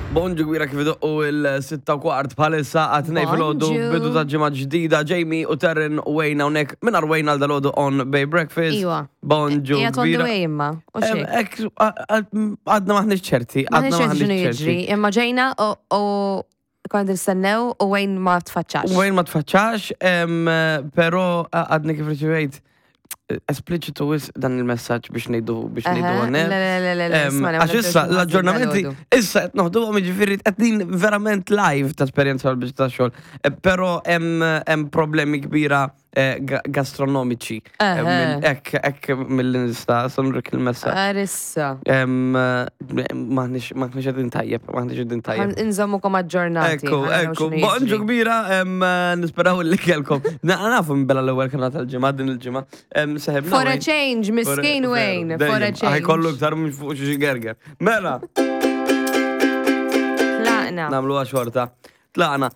Bonġu kbira kif idoqqu il-6 u kwart bħalissa għat-tnej filgħodu Bonġu. bidu ta' ġimgħa ġdida Jamie u Terren u Wayne hawnhekk mingħajr Wayne għal dalodu on Bay Breakfast. Iwa. Bonġu Qiegħed on the kbira. way imma. U Em, xejn. Ek, għadna maħniex ċerti, Ma għadna nix xinu maħniex jiġri, ċerti. imma ġejna u u konna nistennew u Wayne ma tfaċċax. Wayne ma tfaċċax, em, pero għadni kif riċevejt espliċitu wis dan il-messaġġ biex ngħidu biex ngħidu Aha, għanne. Le, le, le, le, le, Em, isma' ma Għax issa nibdewx nħassib l-aġġornamenti, dal-għodu. issa qed noħduhom jiġifieri qegħdin verament live ta' esperjenza għal biex ta' xogħol. Eh, Però hemm hemm problemi kbira eh, ga- gastronomiċi. Eh, Aha. mill- Ekk ekk mill-insta, sanurek il-messaġġ. Arissa. Em, eh, Maħniex maħniex qegħdin tajjeb, maħniex qegħdin tajjeb. Inżommukom aġġornati. Ekku, ħa naraw ekku, x'inhu bonġu jiġri. kbira, em, eh, nisperaw li kelkom. Na- Nafu minn bella l-ewwel kanal tal-ġimgħa din il-ġimgħa. Em, Seħebna. For a Wayne. change, miskin Wayne, for a change. Ħajkollu iktar minn fuq xi gerger. Mela, Tlaqna. namluha xorta. Tlaqna.